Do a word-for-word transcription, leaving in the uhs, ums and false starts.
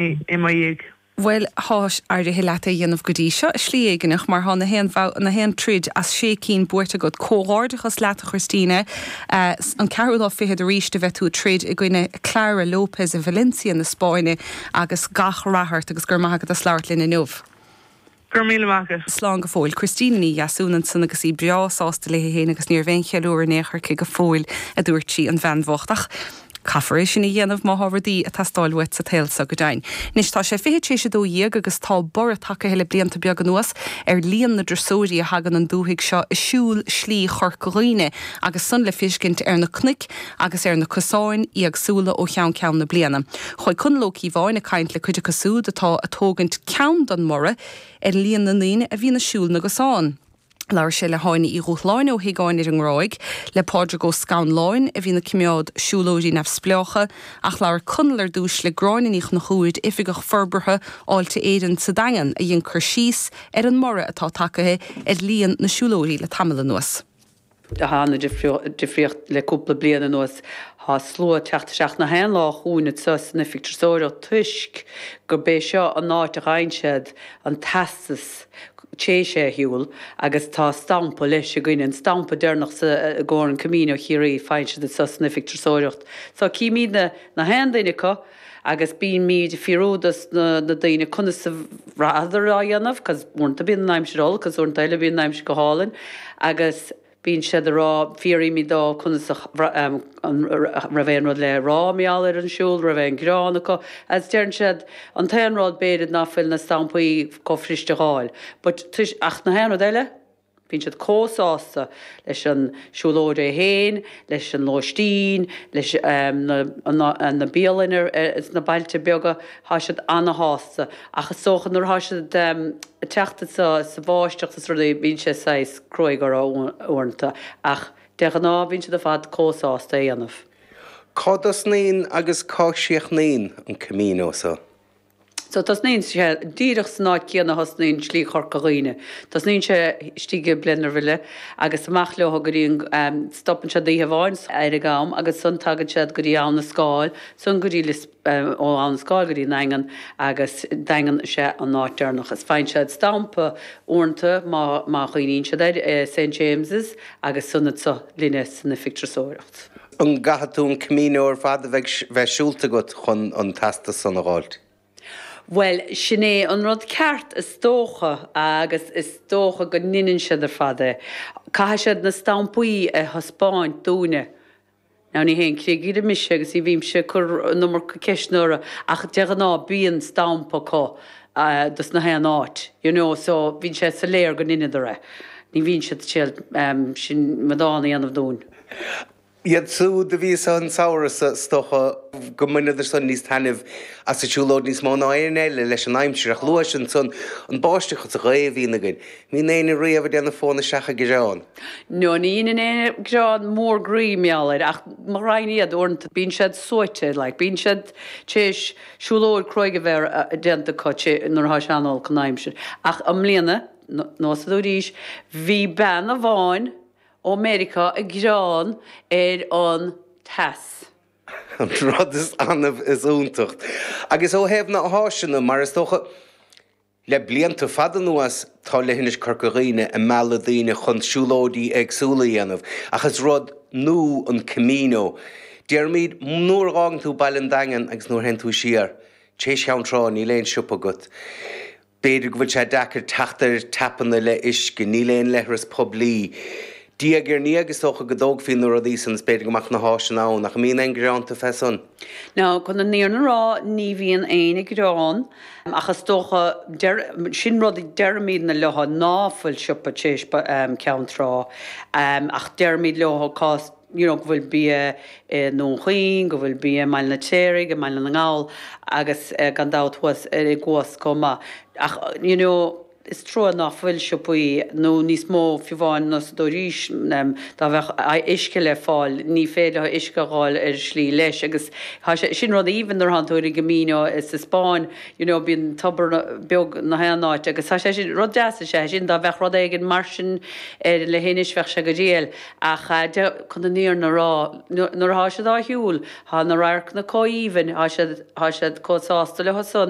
i mo dhiaidh. Bhuel, tá éirithe leat é dhéanamh go dtí seo slí éigineach mar tá na haon na haon troid as sé cinn buaite agat. Comhghairdeachas leat, Christina, uh, an ceathrú lá fichead arís a bheith tú troid i gcoinne Clara Lopez i Valencia na Spáinne agus gach rath ort agus gur maith agat as labhairt linn inniu. Gur míle maith. Slán go fóill. Christina Ní Dheasún ansan agus í breá sásta léi féin agus ní raibh aon cheiliúradh in aon chor aici go fóill, a dúirt sí, an bhean bhocht, ach caithfear é sin a dhéanamh má tá rudaí ag teastáil uait sa tsaol seo go deimhin. Anois tá sé fiche tar éis a dó dhéag agus tá borradh tagtha le blianta beaga anuas ar líon na dturasóirí a thagann an dúthaigh seo ag siúl slí Chorca Dhuibhne agus san le feiscint ar na cnoic agus ar na cosáin éagsúla ó cheann ceann na bliana. Chuaigh Conall Ó Cíobháin ag caint le cuid acu siúd atá ag tógaint ceann don mborradh ar líon na ndaoine a bhíonn ag siúl na gcosán. Labhair sé le hÁine Uí Dhúshláin ó Higáin ar an nGráig, le Pádraig Ó Scanláin a bhíonn ag coimeád siúlóidí neamhspleácha, ach labhair Conall ar dtús le Gráinne Ní Chonchúir, Oifigeach Forbartha Fháilte Éireann sa Daingean, a dhein cur síos ar an mborradh atá tagtha ar líon na siúlóirí le tamall anuas. Tá an-difríocht le cúpla bliain anuas. Tá slua ag teacht isteach na haon lá chugainn anseo san oifig turasóireacht toisc gurb é seo an áit a fhaigheann siad an teastas tar éis é a shiúl agus tá stampa leis againn, an stampa deireanach sa i gcomhair an Camino Chiarraí faigheann siad anseo san oifig turasóireacht. So címidne na haon duine acu agus bímid ag fiafraí dos na, na daoine conas a bhraitheadar á dhéanamh, cos uaireanta bíonn an aimsir olc, agus uaireanta eile bíonn an aimsir go hálainn agus bíonn siad ag rá, fiafraímid dóibh conas an raibh aon rud le rá mar gheall ar an siúl, raibh aon ghearán acu, agus deireann siad an t-aon rud b'fhéidir ná fuil na stampaí chomh fuirist a fháil. But ach na haon rud eile, bíonn siad chomh sásta leis an siúlóid é féin, leis an lóistín, leis um, na, na, na bialanna sna bailte beaga, tá siad an-sásta. Ach is dócha nuair atá siad um, teacht sa, sa bháisteach is rudaí bíonn sé saghas cruaidh orthu uaireanta, ach de ghnáth bíonn siad ar fad chomh sásta é dhéanamh. Cá dtosnaíonn agus cá gcríochnaíonn an Camino seo? So tosnaíonn sé díreach san áit céanna thosnaíonn slí Chorca Dhuibhne. Tosnaíonn sé istigh i Blennerville agus amach leo go dtí um, stopann sé oíche amháin ar an gCam agus ansan tagann siad go dtí Abhainn na Scáil, ansan go dtí um, ó Abhainn na Scáil go dtí an Daingean agus Daingean sé an áit deireanach. Is faigheann siad stampa uaireanta má, má chuimhníonn siad ar uh, Saint James's agus ansan anseo linne san oifig turasóireacht. An gcaithfidh tú an Camino ar fad a bheith bheith siúlta agat chun an teastas san a fháilt? Well, sin é an rud ceart is dócha agus is dócha go ndéanann siad ar fad é. Caithfidh siad na stampaí a thaispeáint dúinne. Now ní haon chriogaire mise agus ní bhímse cur an iomarca ceisteanna orthu ach de ghnáth bíonn stampa acu uh, dos na haon áit. You know, so bíonn sé soiléir go ndeineadar é. Ní bhíonn siad siad um, sin madán a dhéanamh dúinn. Iad siúd a bhí an samhradh is dócha go mbaineadar san níos taitneamh as an siúlóid níos mó ná aon eile leis an aimsir ach luaigh san an báisteach sa ghaoth a bhíonn againn. Bíonn éinne riamh ag déanamh fóna seach gearán. No, ní in aon gearán mór groí meáir ach mar rain iad uaireanta bíonn siad suaite, like, bíonn siad tar éis siúlóid cruaidh a bheith déanta acu nuair atá sé an-olc an aimsir. Ach i mbliana nó sa dúís, bhí bean amháin ó Meiriceá ag gearán ar an teas. An rud is annamh is iontach. Agus ó thaobh na háiseanna mar is dócha le blianta fada anuas tá Leithinis Chorca Dhuibhne ag mealladh daoine chun siúlóidí éagsúla a dhéanamh, ach is rud nua an Camino. Déarfaimid nuair a fhágann tú Baile an Daingin agus nuair théann tú siar, tar éis Cheann Trá níl aon siopa agat. B'fhéidir go bhfuil sé deacair teacht ar tapanna le uisce, níl aon leithreas poiblí. Diaidh ar ndiaidh is dócha go dtógfaí na rudaí san is b'fhéidir go mbeadh na háiseanna ann, ach an mbíonn aon ghearánta fé san. Now chun an fhírinne a rá ní bhíonn aon ghearán ach is dócha sin rud deirimidne leo ná fuil siopa tar éis um, Ceann Trá um, ach deirimid leo cás you know, go bhfuil bia i nDún Chaoin, go bhfuil bia i mBaile an Fheirtéaraigh, i mBaile na nGall agus uh, gan dabht thuas ar i gCuas chomh maith. Ach you know, Is trua nach bhfuil siopaí nó níos mó fiú amháin ná sa dóirís dá bheadh uisce le fáil, ní féidir leo uisce a dh'fháil ar slí leis agus tá sé sin rud aoibhinn nuair thánn tú ar an gCamino sa Spáinn you know bíonn tobar beag na haon áit agus tá sé sin rud deas is ea sin dá bheadh rud éigin mar sin ar leithinis bheadh sé go diail ach chun an fhírinne a rá nuair atá siad á shiúl tá na radharcanna chomh haoibhinn tá siad tá siad chomh sásta leo san.